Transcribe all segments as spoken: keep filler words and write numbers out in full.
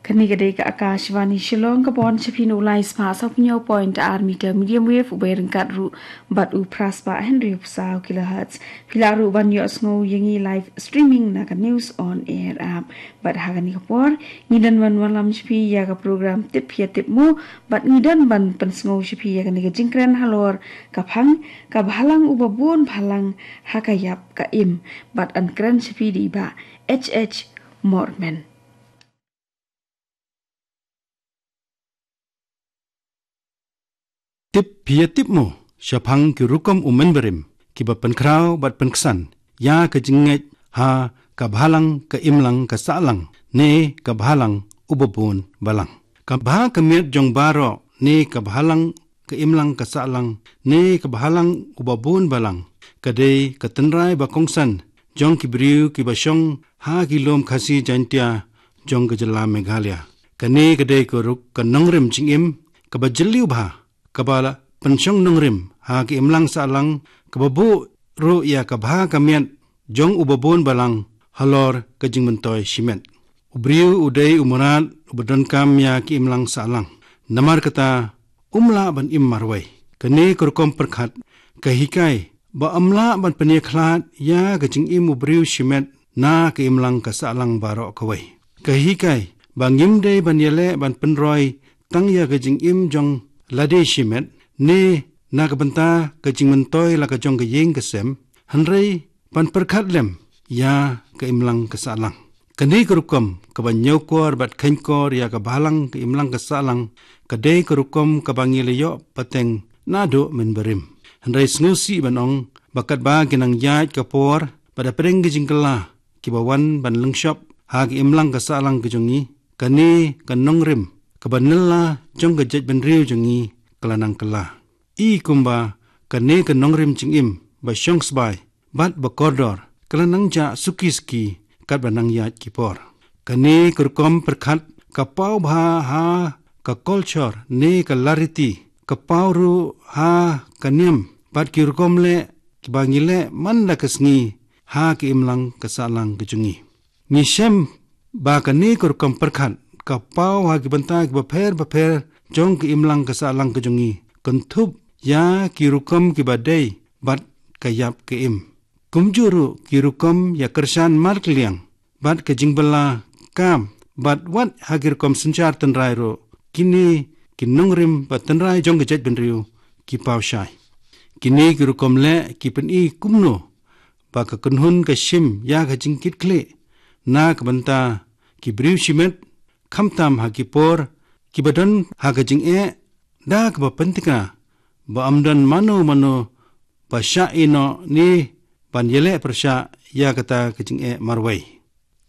Kane ka dei ka Akashvani Shillong, ka poi sha phi na u lai spah saw phew point ar meter medium wave, u bai ryngkat ruh bad u phra spah hynriew phew saw kilohertz. Phi lah ruh ban ïohsngew ïa ngi live streaming na ka News on Air app. Bad ha kane ka por, ngi don ban wallam sha phi ïa ka program Tip Ïa Tip Mo, bad ngi don ban pynsngew sha phi ïa kane ka jingkren halor ka phang, ka bhalang uba bun bhalang ha ka ïap ka im, bad yn kren sha phi da i Bah H H Mormen. Tip Ïa Tip Mo, shaphang ki rukom u mynbarim kiba pynkhraw bad pynksan ïa ka jingngeit ha ka bhalang ka imlang ka sahlang ne ka bhalang uba bun balang. Ka bha ka miat jong baroh ne ka bhalang ka imlang ka sahlang ne ka bhalang uba bun balang, ka dei ka tynrai ba kongsan jong ki briew kiba shong ha ki lum Khasi Jaintia jong ka jylla Meghalaya. Kane ka dei ka rukom ka nongrim jingim kaba jylliew bha, kaba la pynshong nongrim ha ka imlang sahlang, kaba buh ruh ïa ka bha ka miat jong uba bun balang halor ka jingmyntoi shimet. U briew u dei u mrad uba donkam ïa ka imlang sahlang. Namar kata, um lah ban im marwei. Kane ka rukom pyrkhat ka hikai ba ym lah ban pynïakhlad ïa ka jingim u briew shimet na ka imlang ka sahlang baroh kawei. Ka hikai ba ngim dei ban ïaleh ban pynroi tang ïa ka jingim jong lade shimet ne na ka bynta ka jingmyntoi la ka jong ka ïing ka sem, hynrei ban pyrkhat lem ïa ka imlang ka sahlang. Kane ka rukom kaba ñiewkor bad kheiñkor ïa ka bhalang ka imlang ka sahlang, ka dei ka rukom kaba ngi la ïoh pateng naduh mynbarim. Hynrei sngewsih ban ong ba katba ki nang ïaid ka por bad hapdeng ki jingkylla kiba wan ban lyngshop ha ka imlang ka sahlang ka jong ngi, kane ka nongrim kaba nylla jong ka jaitbynriew jong ngi ka la nang kylla. I kumba kane ka nongrim jingim ba shong sbai bad ba kordor ka la nang jah suki suki katba nang ïaid ki por. Kane ka rukom pyrkhat ka paw bha ha ka culture ne ka lariti, ka paw ruh ha ka niam bad ki rukom leh kiba ngi leh man la ka sngi ha ka imlang ka sahlang ka jong ngi. Ngi shem ba kane ka rukom pyrkhat ka paw ha ki bynta kiba pher bapher jong ka imlang ka sahlang ka jong ngi, kynthup ïa ki rukom kiba dei bad ka ïap ka im. Kumjuh ruh ki rukom ïa kyrshan markylliang bad ka jingbylla kam bad wat ha ki rukom synshar tynrai ruh, kine ki nongrim bad tynrai jong ka jaitbynriew ki paw shai. Kine ki rukom leh ki pyni kumno ba ka kynhun ka shim ïa ka jingkitkhlieh na ka bynta ki briew shimet, khamtam ha ki por kiba don ha ka jingeh da kaba pynthikna ba ym don mano mano ba shah ïehnoh ne ban ïaleh pyrshah ïa kata ka jingeh marwei.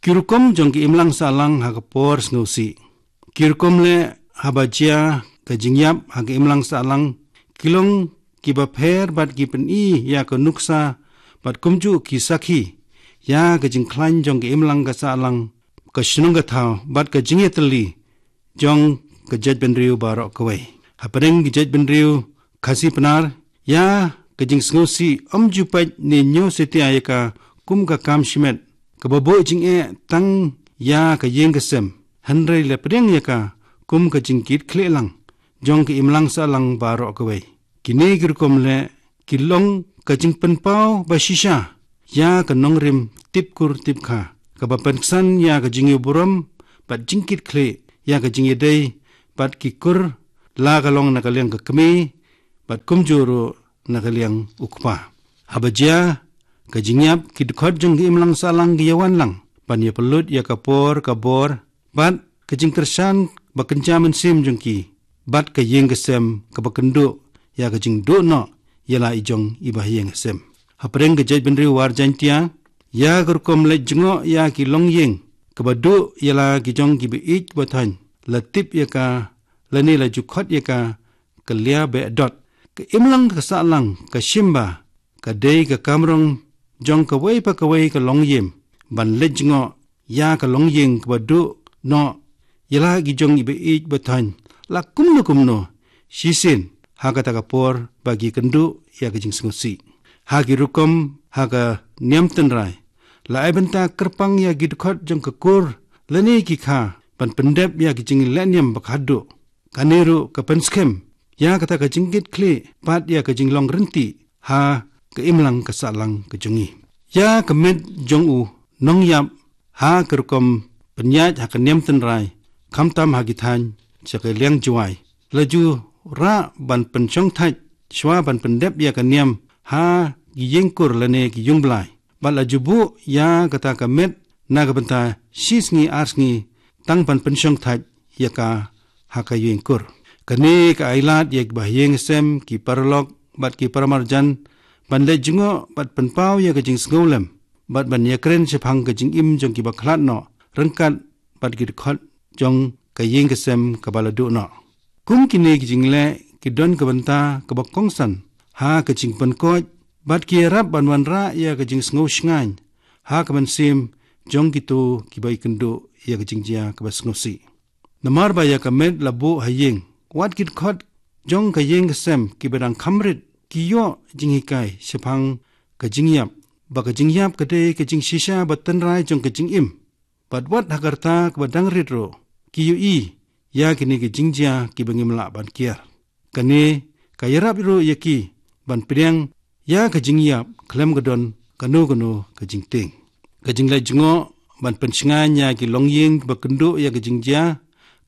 Ki rukom jong ka imlang sahlang ha ka por sngewsih. Ki rukom leh haba jia ka jingïap ha ka imlang sahlang ki long kiba pher bad ki pyni ïa ka nuksa bad kumjuh ki sakhi ïa ka jingkhlaiñ jong ka imlang ka sahlang, ka shnong ka thaw bad ka jingïatylli jong ka jaitbynriew baroh kawei. Hapdeng ka jaitbynriew Khasi Pnar, ïa ka jingsngewsih ym ju peit ne ñiew satia ïa ka kum ka kam shimet kaba buh jingeh tang ïa ka ïing ka sem, hynrei la pdiang ïa ka kum ka jingkitkhlieh lang jong ka imlang sahlang baroh kawei. Kine ki rukom leh ki long ka jingpynpaw ba shisha ïa ka nongrim tipkur tipkha kaba pynksan ïa ka jingïoh burom bad jingkitkhlieh ïa ka jingïadei bad ki kur, la ka long na ka liang ka kmie bad kumjuh ruh na ka liang u kpa. Haba jia ka jingïap, ki dkhot jong ka imlang sahlang ki ïawan lang ban ïapynlut ïa ka por ka bor bad ka jingkyrshan ba kynja mynsiem jong ki bad ka ïing ka sem kaba kynduh ïa ka jingduh noh ïa la i jong i bahaïing hasem. Hapdeng ka jaitbynriew War Jaiñtia, ïa ka rukom leit jngoh ïa ki longïing kaba duh ïa la ki jong ki ba ïeit ba thoiñ, la tip ïa ka lane la ju khot ïa ka ka lia beh dot. Ka imlang ka sahlang ka shim ba ka dei ka kamrong jong kawei pa kawei ka longïing ban leit jngoh ïa ka longïing kaba duh noh ïa la ki jong i ba ïeit ba thoiñ la kumno kumno shisien ha kata ka por ba ki kynduh ïa ka jingsngewsih. Ha ki rukom ha ka niam tynrai, la ai bynta kyrpang ïa ki dkhot jong ka kur lane ki kha ban pyndep ïa ka jinglehniam ba khadduh. Kane ruh ka pynskhem ïa kata ka jingkitkhlieh bad ïa ka jinglong rynti ha ka imlang ka sahlang ka jong ngi. Ïa ka met jong u nongïap ha ka rukom pynïaid ha ka niam tynrai, khamtam ha ki thaiñ sha ka liang Jowai, la ju rah ban pynshong thait shuwa ban pyndep ïa ka niam ha ki ïing kur lane ki ïung blai. Bad la ju buh ïa kata ka met na ka bynta shi sngi ar sngi tang ban pynshong thait ïa ka ha ka ïing kur. Kane ka ai lad ïa ki bahaïing hasem, ki paralok bad ki paramarjan ban leit jngoh bad pynpaw ïa ka jingsngewlem bad ban ïakren shaphang ka jingim jong ki bakhlad noh ryngkat bad ki dkhot jong ka ïing ka sem kaba la duh noh. Kum kine ki jingleh ki don ka bynta kaba kongsan ha ka jingpynkoit bad ki ïarap ban wanrah ïa ka jingsngew shngaiñ ha ka mynsiem jong kito kiba ïakynduh ïa ka jingjia kaba sngewsih. Namar ba ïa ka met la buh ha ïing, wat ki dkhot jong ka ïing ka sem kiba dang kham rit ki ïoh jinghikai shaphang ka jingïap, ba ka jingïap ka dei ka jingshisha ba tynrai jong ka jingim. Bad wat ha ka rta kaba dang rit ruh ki ïohi ïa kine ki jingjia kiba ngim lah ban kiar. Kane ka ïarap ruh ïa ki ban pdiang ïa ka jingïap khlem ka don kano kano ka jingtieng. Ka jingleit jngoh ban pynshngaiñ ïa ki longïing kiba kynduh ïa ka jingjia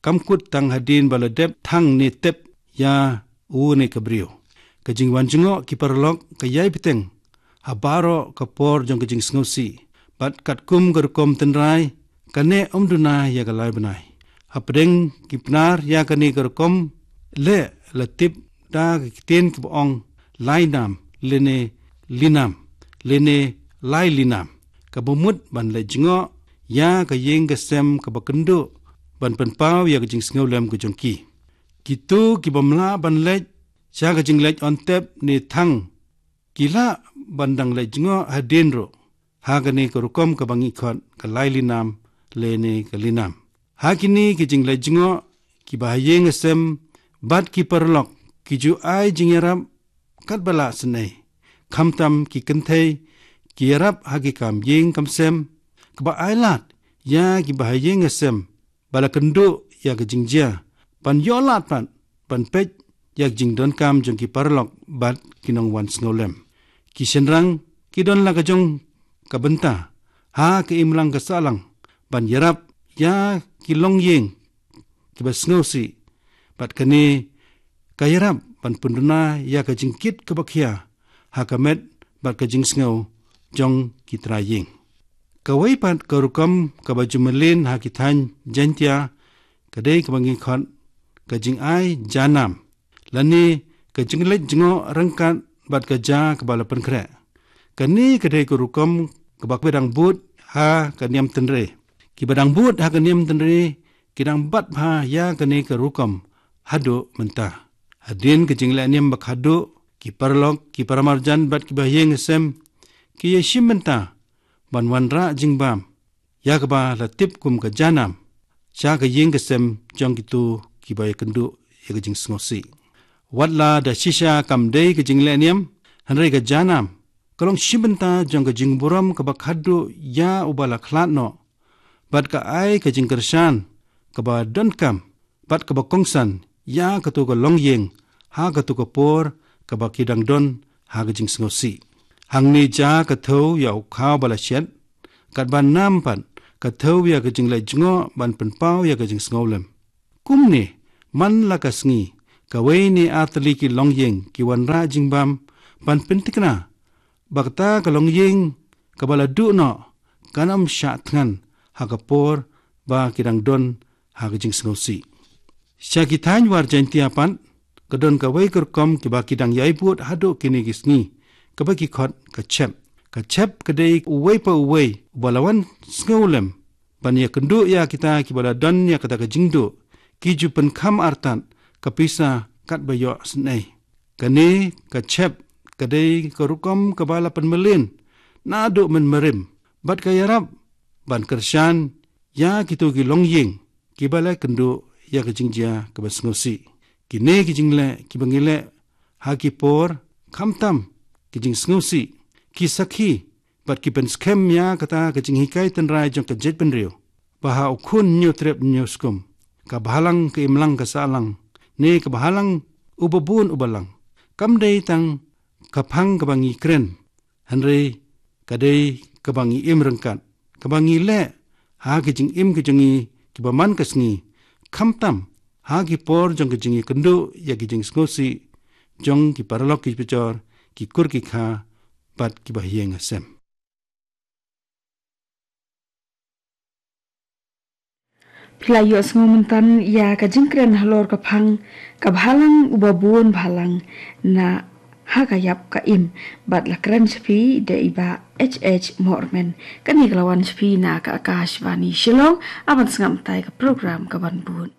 kam kut tang hadien ba la dep thang ne tep ïa u ne ka briew. Ka jingwan jngoh ki paralok ka ïai bteng ha baroh ka por jong ka jingsngewsih. Bad katkum ka rukom tynrai, kane ym duna ïa ka lai bnai. Hapdeng ki Pnar ïa kane ka rukom leh la tip da ka ktien kaba ong lai nam lane li nam lane lai li nam, kaba mut ban leit jngoh ïa ka ïing ka sem kaba kynduh ban pynpaw ïa ka jingsngewlem ka jong ki. Kito kiba ym lah ban leit sha ka jingleit on tep ne thang, ki lah ban dang leit jngoh hadien ruh ha kane ka rukom kaba ngi khot ka lai li nam lane ka li nam. Ha kine ki jingleit jngoh, ki bahaïing hasem bad ki paralok ki ju ai jingïarap katba lah sngewsih. Khamtam ki kynthei ki ïarap ha ki kam ïing kam sem, kaba ai lad ïa ki bahaïing hasem ba la kynduh ïa ka jingjia ban ïoh lad pat ban peit ïa ka jingdonkam jong ki paralok bad ki nongwan sngewlem. Ki shynrang ki don la ka jong ka bynta ha ka imlang ka sahlang ban ïarap ïa ki longïing kiba sngewsih, bad kane ka ïarap ban pynduna ïa ka jingkit kaba khia ha ka met bad ka jingsngew jong ki trai ïing. Kawei pat ka rukom kaba ju mlien ha ki thaiñ Jaiñtia ka dei kaba ngi khot ka jingai ja nam lane ka jingleit jngoh ryngkat bad ka ja kaba la pynkhreh. Kane ka dei ka rukom kaba ki ba dang bud ha ka niam tynrai. Ki ba dang bud ha ka niam tynrai ki dang bat bha ïa kane ka rukom haduh mynta. Hadien ka jinglehniam ba khadduh, ki paralok, ki paramarjan bad ki bahaïing hasem ki ïashim bynta ban wanrah jingbam ïa kaba la tip kum ka ja nam sha ka ïing ka sem jong kito kiba ïakynduh ïa ka jingsngewsih. Wat la da shisha kam dei ka jinglehniam, hynrei ka ja nam ka long shim bynta jong ka jingburom kaba khadduh ïa uba la khlad noh, bad ka ai ka jingkyrshan kaba donkam bad kaba kongsan ïa kato ka longïing ha kato ka por kaba ki dang don ha ka jingsngewsih. Hangne ja ka thew ïa u khaw ba la shet, katba nam pat ka thew ïa ka jingleit jngoh ban pynpaw ïa ka jingsngewlem. Kumne, man la ka sngi, kawei ne ar tylli ki longïing ki wanrah jingbam ban pynthikna ba kata ka longïing kaba la duh noh kan ym shah thngan ha ka por ba ki dang don ha ka jingsngewsih. Sha ki thaiñ War Jaiñtia pat ka don kawei ka rukom kiba ki dang ïai bud haduh kine ki sngi, kaba ki khot ka chep. Ka chep ka dei uwei pa uwei uba la wan sngewlem ban ïakynduh ïa kita kiba la don ïa kata ka jingduh, ki ju pynkham artat ka pisa katba ïoh sngewsih. Kane ka chep ka dei ka rukom kaba la pynmlien naduh mynmarim bad ka ïarap ban kyrshan ïa kito ki longïing kiba la kynduh ïa ka jingjia kaba sngewsih. Kine ki jingleh kiba ngi leh ha ki por khamtam ki jingsngewsih, ki sakhi bad ki pynskhem ïa kata ka jinghikai tynrai jong ka jaitbynriew. ba ha u khun hynñiew trep hynñiew skum, ka bhalang ka imlang ka sahlang, ne ka bhalang uba bun uba lang, kam dei tang ka phang kaba ngi kren, hynrei ka dei kaba ngi im ryngkat, kaba ngi leh ha ki jingim ki jong ngi kiba man ka sngi, khamtam ha ki por jong ki jingïakynduh ïa ki jingsngewsih jong ki paralok ki pajor, ki kur ki kha, bad kiba ha ïing ha sem. Phi la ïohsngew mynta ïa ka jingkren halor ka phang ka bhalang uba bun bhalang na ha ka ïap ka im, bad la kren sha phi da i Bah H H Mormen. Kane ka la wan sha phi na ka Akashvani Shillong, aban sngap tai ka program ka ban bud.